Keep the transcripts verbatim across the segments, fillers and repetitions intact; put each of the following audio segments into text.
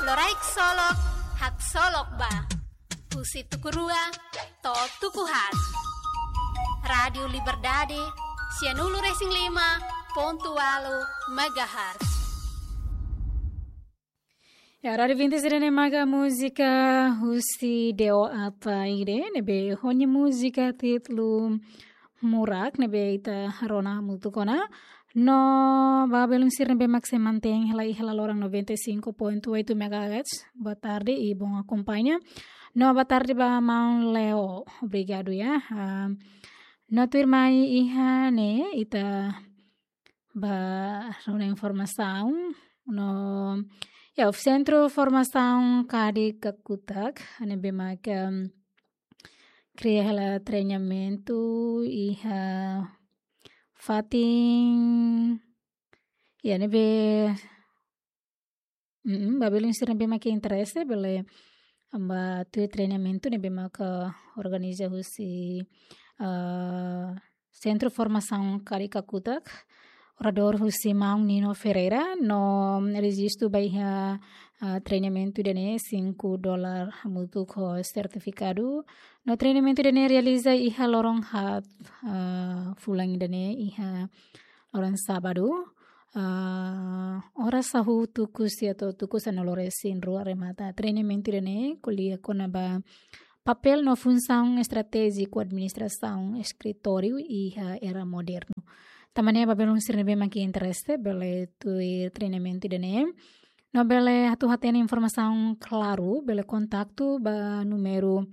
Loraik Solok, haksolok ba. Husi tuku rua to'o tuku haat. Rádiu Liberdade, sianulu-resin-lima pontu ualu megahertz. Ya, Rádiu Vinti sira-ne'e maka múzika husi Deo Ataide, ne'ebé ho nia múzika títulu Murak, ne'ebé ita rona hamutuk ona. No ba belun sira ne'ebé mak sei mantein hela iha laloran noventa e cinco ponto oito megahertz. Boa tarde e bom acompanha. No boa tarde ba maun Leo. Obrigadu ya. Ah, no tuirmai iha ne'e ita ba rona informasaun. No ya, Sentru Formasaun Kadik Kakutak, ne'ebé mak, em, kria hela treinamentu iha fatin, ya, ne'ebé, mm, ba belun sira ne'ebé mak interese bele ba tuir treinamentu ne'ebé mak organiza husi, ah, Sentru Formasaun Kadik Kakutak, oradór husi maun Nino Ferreira, no rejistu ba iha, ah, treinamentu ida-ne'e cinco dólar hamutuk ho sertifikadu. No treinamentu ida-ne'e realiza iha loron haat, ah, fulan ida-ne'e iha loron sábadu, ah, oras hahu tuku sia to'o tuku sanulu-resin-rua remata. Treinamentu ida-ne'e ko'alia kona-ba papél no funsaun estratéjiku administrasaun eskritóriu iha era modernu. Tanba ne'e ba belun sira ne'ebé mak interese bele tuir treinamentu ida-ne'e. No bele atu hatene informasaun klaru, bele kontaktu ba númeru,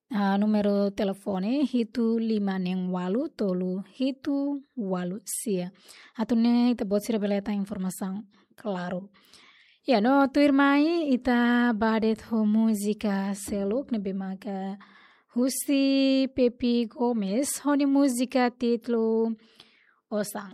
ah, númeru telefone hitu lima neen ualu tolu hitu ualu sia. Atu nune'e ita-boot sira bele hetan informasaun klaru. Ya, no tuirmai ita ba de'it ho múzika seluk ne'ebé maka husi Pepi Gomes, ho nia múzika títulu Osan.